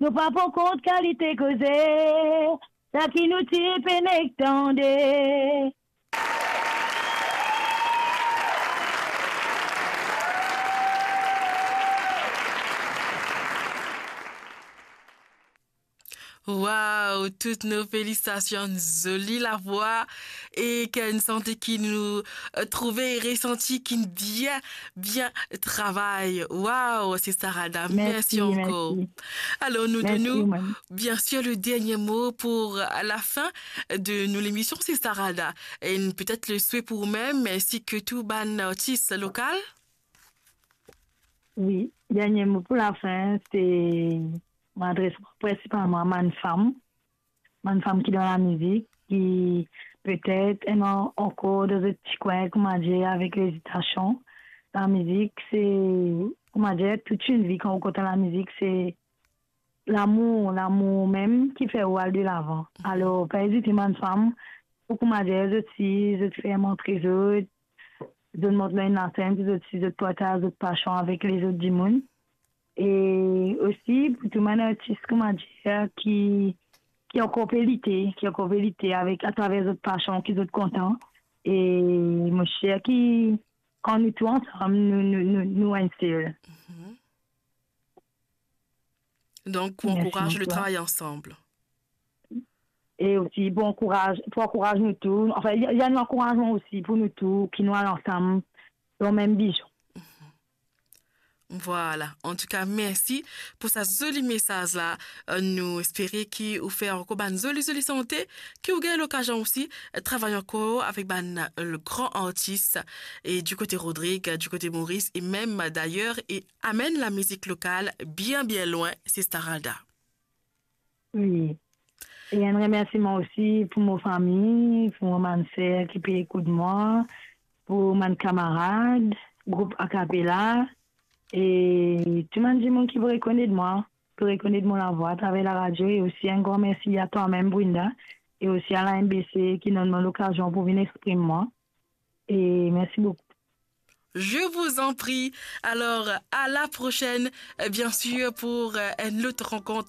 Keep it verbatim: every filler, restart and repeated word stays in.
nou pa pran kont kalite koze, sa ki nou ti pena tande. Waw, tout nou felisitasion, zoli lavwa, e ki enn sante ki nou, eh, trouve e resanti ki'nn bien, bien travay. Waw, Sista Rada, mersi, mersi ankor. Alor, nou donn ou, biensir, le dernie mo pou, eh, lafin de nou lemision, Sista Rada. E petet le swe pou ou mem, ensi ke tou bann artis lokal. Wi, dernie mo pou lafin, se mo adres mwa prinsipalman a bann fam, bann fam ki dan lamizik, ki petet ena ankor dan zot ti kwin, koumadir, avek lezitasion. Lamizik, se, koumadir, tout enn vi, kan ou kontan lamizik, se lamour, lamour mem ki fer ou al delavan. Alor, pa ezite bann fam, pou, koumadir, zot si, zot fer mont zot, zot mont lor enn lasenn, zot si, zot partaz zot pasion avek lezot dimoun. E osi, pou tou bann artis, koumadir, ki, ki ankor pe lite, ki ankor pe lite avek, atraver zot pasion ki zot kontan. E mo sir ki kan nou tou ansam, nou, nou, nou, nou enn sel. Mhm. Donk, pou ankouraz le travay ansam. E osi pou ankouraz, pou ankouraz nou tou. Anfin, li, li enn ankourazman osi pou nou tou, ki nou al ansam dan mem vizion. Vwala. Antouka, mersi pou sa zoli mesaz la. Eh, nou espere ki ou fer ankor bann zoli, zoli sante, ki ou gagn lokazion osi, eh, travay ankor avek bann, eh, gran artis, e di kote Rodrig, di kote Moris, e mem dayer, e amenn lamizik lokal bien, bien lwin, Sista Rada. Wi. E enn remersiman osi pou mo fami, pou mo bann ser ki pe ekout mwa, pou bann kamarad, group Akapela, e tou bann dimoun ki pou rekonet mwa, pou rekonet mo lavwa atraver laradio, e osi enn gran mersi a twa mem, Brinda, e osi a la M B C ki donn mwa lokazion pou vinn exprim mwa. E mersi boukou. Je vous en prie. Alors, à la prochaine, euh, bien sûr, pour, euh, une autre rencontre.